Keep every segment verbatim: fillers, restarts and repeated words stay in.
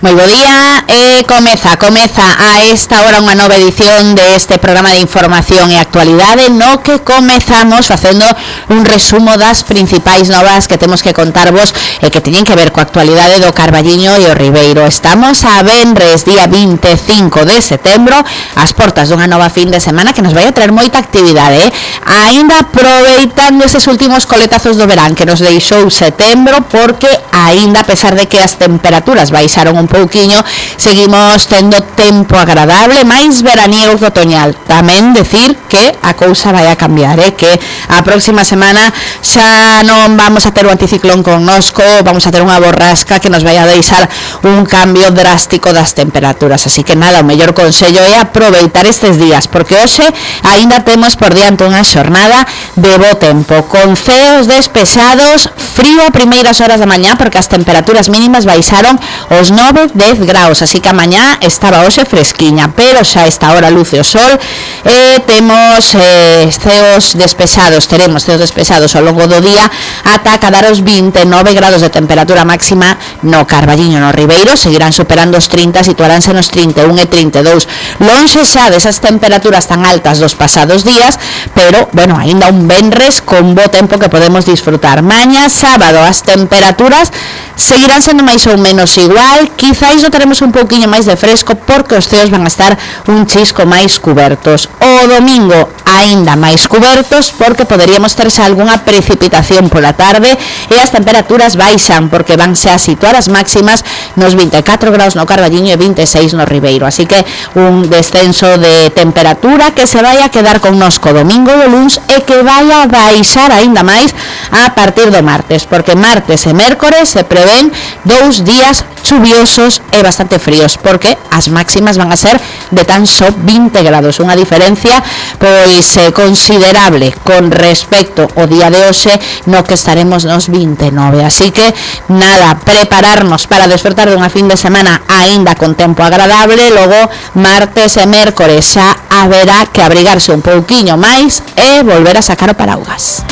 Moi bo día, e comeza, comeza a esta hora unha nova edición deste programa de información e actualidade no que comezamos facendo un resumo das principais novas que temos que contarvos e que teñen que ver coa actualidade do Carballiño e o Ribeiro. Estamos a venres, día vinte e cinco de setembro, ás portas dunha nova fin de semana que nos vai a traer moita actividade, eh? Ainda aproveitando eses últimos coletazos do verán que nos deixou setembro, porque ainda a pesar de que as temperaturas baixaron un pouquiño, seguimos tendo tempo agradable, máis veraniego que otoñal. Tamén decir que a cousa vai a cambiar, eh? Que a próxima semana xa non vamos a ter o anticiclón connosco, vamos a ter unha borrasca que nos vai a deixar un cambio drástico das temperaturas, así que nada, o mellor consello é aproveitar estes días, porque hoxe aínda temos por diante unha xornada de bo tempo, con ceos despejados, frío a primeiras horas da mañá, porque as temperaturas mínimas baixaron os nove, dez graus, así que a mañá estaba hoxe fresquiña, pero xa esta hora luce o sol e temos eh, ceos despejados, teremos ceos despejados ao longo do día ata cadar os vinte e nove grados de temperatura máxima no Carballiño, no Ribeiro, seguirán superando os trinta, situaránse nos trinta e un e trinta e dous, lonxe xa desas temperaturas tan altas dos pasados días, pero, bueno, aínda un venres con bo tempo que podemos disfrutar. Mañá, sábado, as temperaturas seguirán sendo máis ou menos igual, quizáis non teremos un pouquiño máis de fresco porque os ceos van a estar un chisco máis cubertos. O domingo aínda máis cubertos porque poderíamos terse algunha precipitación pola tarde e as temperaturas baixan porque vanse a situar as máximas nos vinte e catro graus no Carballiño e vinte e seis no Ribeiro, así que un descenso de temperatura que se vai a quedar connosco domingo e o luns e que vai a baixar aínda máis a partir do martes, porque martes e mércores se prevén dous días chuviosos e bastante fríos, porque as máximas van a ser de tan só vinte grados, unha diferencia pois eh, considerable con respecto ao día de hoxe no que estaremos nos vinte e nove, así que nada, prepararnos para desfrutar dunha fin de semana aínda con tempo agradable. Logo martes e mércores xa haberá que abrigarse un pouquiño máis e volver a sacar o paraugas.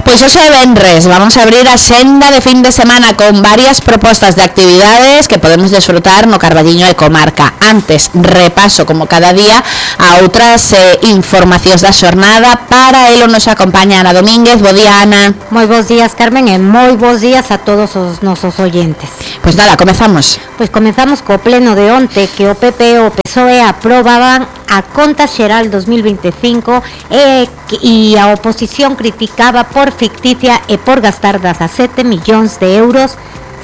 Pois hoxe é venres, vamos a abrir a senda de fin de semana con varias propostas de actividades que podemos desfrutar no Carballiño e comarca. Antes, repaso como cada día a outras eh, informacións da xornada. Para elo nos acompaña Ana Domínguez. Bo día, Ana. Moi bons días, Carmen, e moi bons días a todos os nosos oyentes. Pois nada, comezamos. Pois comezamos co pleno de onte que o P P e o P S O E aprobaban a conta xeral dos mil vinte e cinco e, e a oposición criticaba por ficticia e por gastar dezasete millóns de euros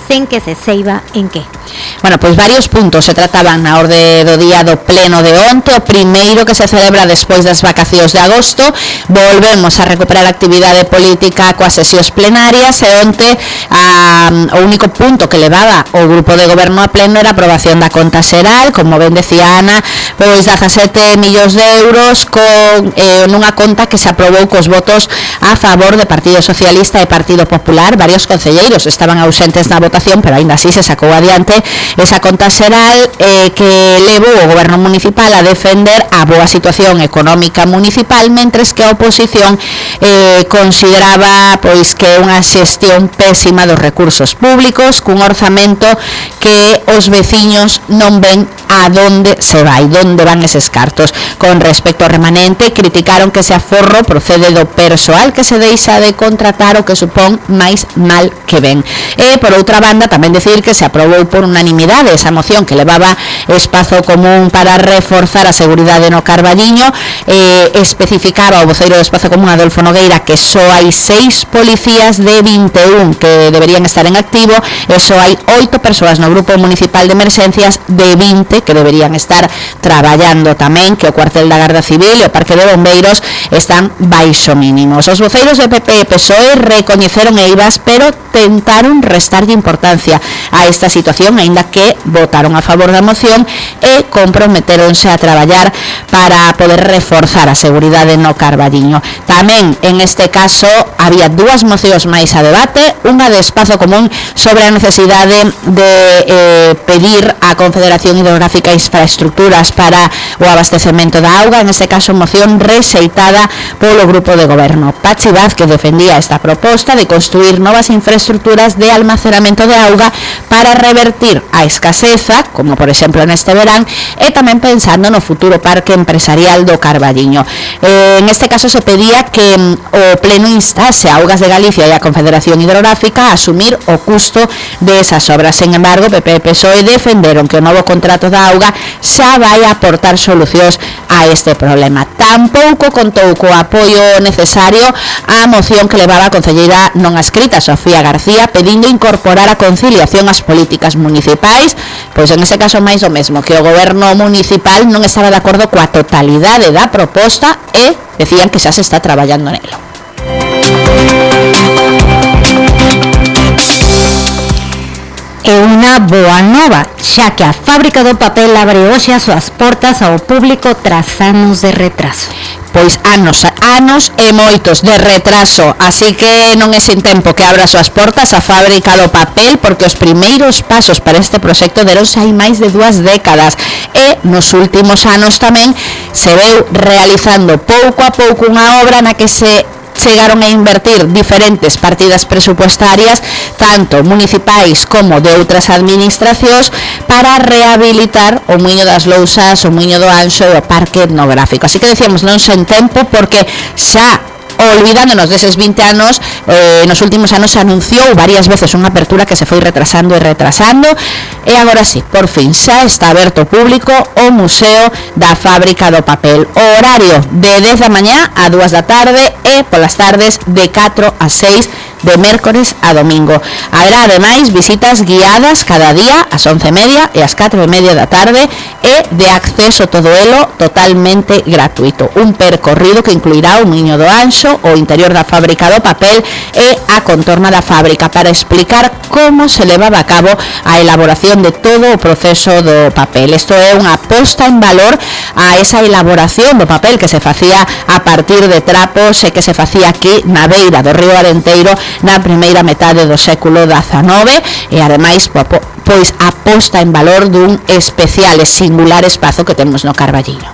sen que se seiba en que. Bueno, pois varios puntos se trataban na orde do día do pleno de onte. O primeiro, que se celebra despois das vacacións de agosto, volvemos a recuperar a actividade política coas sesións plenarias e onte a, o único punto que levaba o grupo de goberno a pleno era a aprobación da conta xeral, como ben decía Ana, pois dezasete millóns de euros con eh, nunha conta que se aprobou cos votos a favor de Partido Socialista e Partido Popular. Varios concelleiros estaban ausentes na votación, pero aínda así se sacou adiante esa conta xeral eh, que levou o goberno municipal a defender a boa situación económica municipal, mentres que a oposición eh, consideraba pois que unha xestión pésima dos recursos públicos, cun orzamento que os veciños non ven a donde se vai, donde van eses cartos. Con respecto ao remanente, criticaron que ese aforro procede do persoal que se deixa de contratar, o que supón máis mal que ven. E, por outra banda, tamén decir que se aprobou por unanimidade esa moción que levaba espazo común para reforzar a seguridade no Carballiño. Eh, especificaba o voceiro do espazo común, Adolfo Nogueira, que só hai seis policías de vinte e un que deberían estar en activo e só hai oito persoas no grupo municipal de emerxencias de vinte que deberían estar traballando. Tamén que o cuartel da Garda Civil e o Parque de Bombeiros están baixo mínimos. Os voceiros de P P e P S O E recoñeceron eivas, pero tentaron restarlle importancia a esta situación, aínda que votaron a favor da moción e comprometeronse a traballar para poder reforzar a seguridade no Carballiño. Tamén, en este caso, había dúas mocións máis a debate, unha de espazo común sobre a necesidade de eh, pedir a Confederación Hidrográfica Infraestructuras para o abastecemento da auga, en este caso moción rexeitada polo grupo de goberno. Pachi Vázquez defendía esta proposta de construir novas infraestructuras de almacenamento de auga para revertir a escaseza, como por exemplo neste verán, e tamén pensando no futuro parque empresarial do Carballiño. Eh, en este caso se pedía que o pleno instase a Augas de Galicia e a Confederación Hidrográfica a asumir o custo de esas obras. Sen embargo, P P e P S O E defenderon que o novo contrato da auga xa vai aportar solucións a este problema. Tampouco contou co apoio necesario á moción que levaba a concelleira non adscrita Sofía García pedindo incorporar a conciliación ás políticas municipais, pois en ese caso máis o mesmo, que o goberno municipal non estaba de acordo coa totalidade da proposta e decían que xa se está traballando nelo. É unha boa nova, xa que a fábrica do papel abre hoxe as súas portas ao público tras anos de retraso. Pois anos, anos e moitos de retraso, así que non é sin tempo que abra as súas portas a fábrica do papel, porque os primeiros pasos para este proxecto deronse hai máis de dúas décadas e nos últimos anos tamén se veu realizando pouco a pouco unha obra na que se chegaron a invertir diferentes partidas presupuestarias, tanto municipais como de outras administracións, para rehabilitar o Muiño das Lousas, o Muiño do Anxo e o Parque Etnográfico. Así que decíamos non sen tempo, porque xa olvidándonos deses vinte anos, eh, nos últimos anos se anunciou varias veces unha apertura que se foi retrasando e retrasando, e agora sí, por fin xa está aberto ao público o Museo da Fábrica do Papel. O horario de dez da mañá a dúas da tarde e polas tardes de catro a seis de mércores a domingo. Haberá ademais visitas guiadas cada día ás once e media e ás catro e media da tarde e de acceso todo elo totalmente gratuito. Un percorrido que incluirá o Muiño do Anxo, o interior da fábrica do papel e a contorna da fábrica, para explicar como se levaba a cabo a elaboración de todo o proceso do papel. Isto é unha posta en valor a esa elaboración do papel que se facía a partir de trapos e que se facía aquí na beira do río Arenteiro na primeira metade do século dezanove, e ademais pois a posta en valor dun especial e singular espazo que temos no Carballiño.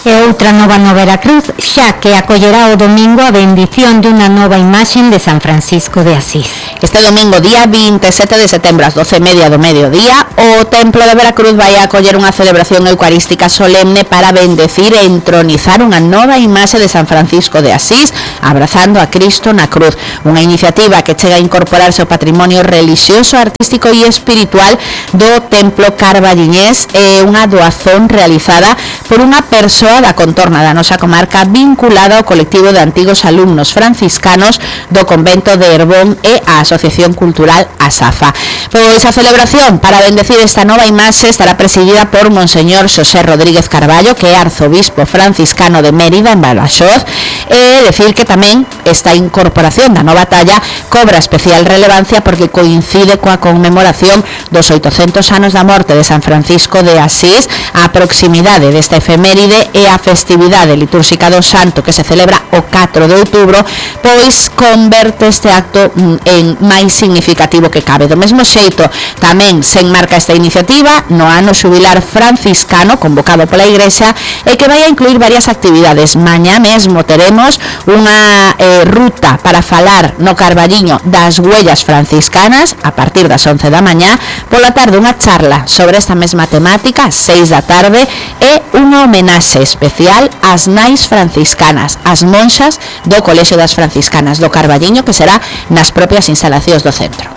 E outra nova no Veracruz, xa que acollerá o domingo a bendición de unha nova imaxen de San Francisco de Asís. Este domingo, día vinte e sete de setembro, ás doce e media do mediodía, o Templo de Veracruz vai a acoller unha celebración eucarística solemne para bendecir e entronizar unha nova imaxe de San Francisco de Asís, abrazando a Cristo na cruz. Unha iniciativa que chega a incorporarse ao patrimonio religioso, artístico e espiritual do Templo Carballiñés, e unha doazón realizada por unha persoa da contorna da nosa comarca vinculada ao colectivo de antigos alumnos franciscanos do convento de Herbón e a Asociación Cultural Asafa. Pois a celebración para bendecir esta nova imaxe estará presidida por Monseñor Xosé Rodríguez Carballo, que é arzobispo franciscano de Mérida, en Badaxoz, e decir que tamén esta incorporación da nova talla cobra especial relevancia porque coincide coa conmemoración dos oitocentos anos da morte de San Francisco de Asís, a proximidade desta efeméride e a festividade litúrxica do santo que se celebra o catro de outubro, pois converte este acto en máis significativo que cabe. Do mesmo xeito, tamén se enmarca esta iniciativa no ano xubilar franciscano convocado pola Igrexa, e que vai a incluir varias actividades. Mañá mesmo teremos unha eh, ruta para falar no Carballiño das huellas franciscanas a partir das once da mañá, pola tarde unha charla sobre esta mesma temática ás seis da tarde e unha homenaxe especial ás nais franciscanas, as monxas do Colexio das Franciscanas do Carballiño, que será nas propias instalacións do centro.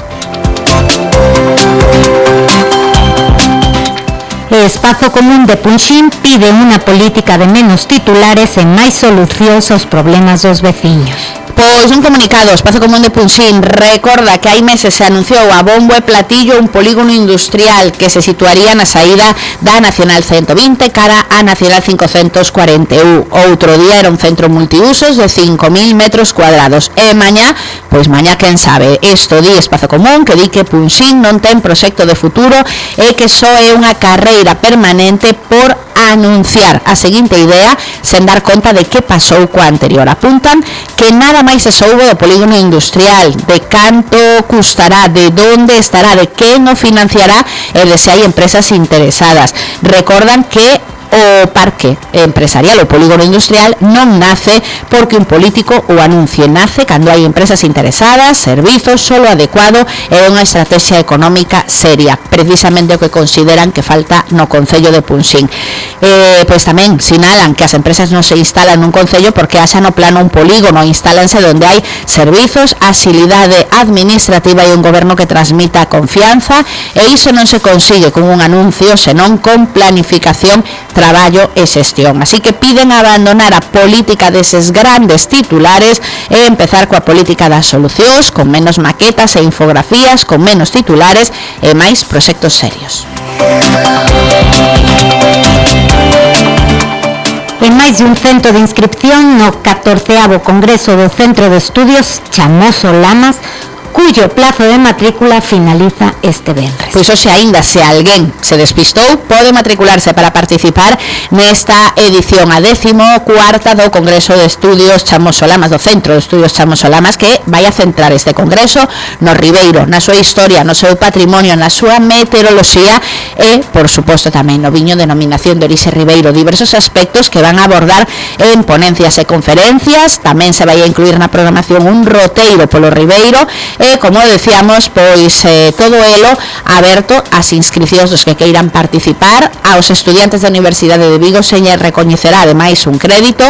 O Espazo Común de Punxín pide unha política de menos titulares e máis solucións aos problemas dos veciños. Pois un comunicado, o Espazo Común de Punxín recorda que hai meses se anunciou a bombo e platillo un polígono industrial que se situaría na saída da Nacional ciento vinte cara a Nacional cincocentos cuarenta e un. Outro día era un centro multiusos de cinco mil metros cuadrados. E mañá, pois mañá quen sabe, isto di Espazo Común, que di que Punxín non ten proxecto de futuro e que só é unha carreira cadeira permanente por anunciar a seguinte idea sen dar conta de que pasou coa anterior. Apuntan que nada máis se soubo do polígono industrial, de canto custará, de onde estará, de quen o financiará e de se hai empresas interesadas. Recordan que o parque empresarial, o polígono industrial, non nace porque un político o anuncie, nace cando hai empresas interesadas, servizos, solo adecuado e unha estrategia económica seria, precisamente o que consideran que falta no Concello de Punxín. Eh, pois tamén sinalan que as empresas non se instalan nun concello porque haxa no plano un polígono, instálanse onde hai servizos, agilidade administrativa e un goberno que transmita confianza, e iso non se consigue con un anuncio, senón con planificación, traballo e xestión. Así que piden abandonar a política deses grandes titulares e empezar coa política das solucións, con menos maquetas e infografías, con menos titulares e máis proxectos serios. En máis de un cento de inscripción no catorceavo Congreso do Centro de Estudios Chamoso Lamas, cuyo plazo de matrícula finaliza este venres. Pois hoxe aínda, se alguén se despistou, pode matricularse para participar nesta edición a décimo cuarta do Congreso de Estudios Chamoso Lamas, do Centro de Estudios Chamoso Lamas, que vai a centrar este congreso no Ribeiro, na súa historia, no seu patrimonio, na súa meteoroloxía e, por suposto, tamén no viño denominación de orixe Ribeiro. Diversos aspectos que van a abordar en ponencias e conferencias. Tamén se vai a incluir na programación un roteiro polo Ribeiro e, como decíamos, pois eh, todo elo aberto ás inscripcións dos que queiran participar. Aos estudiantes da Universidade de Vigo se lle recoñecerá ademais un crédito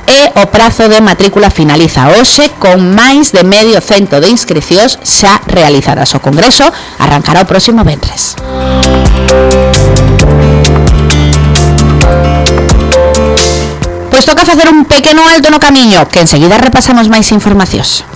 e o prazo de matrícula finaliza hoxe con máis de medio cento de inscripcións xa realizadas. O Congreso arrancará o próximo venres. Pois toca facer un pequeno alto no camiño, que enseguida repasamos máis informacións.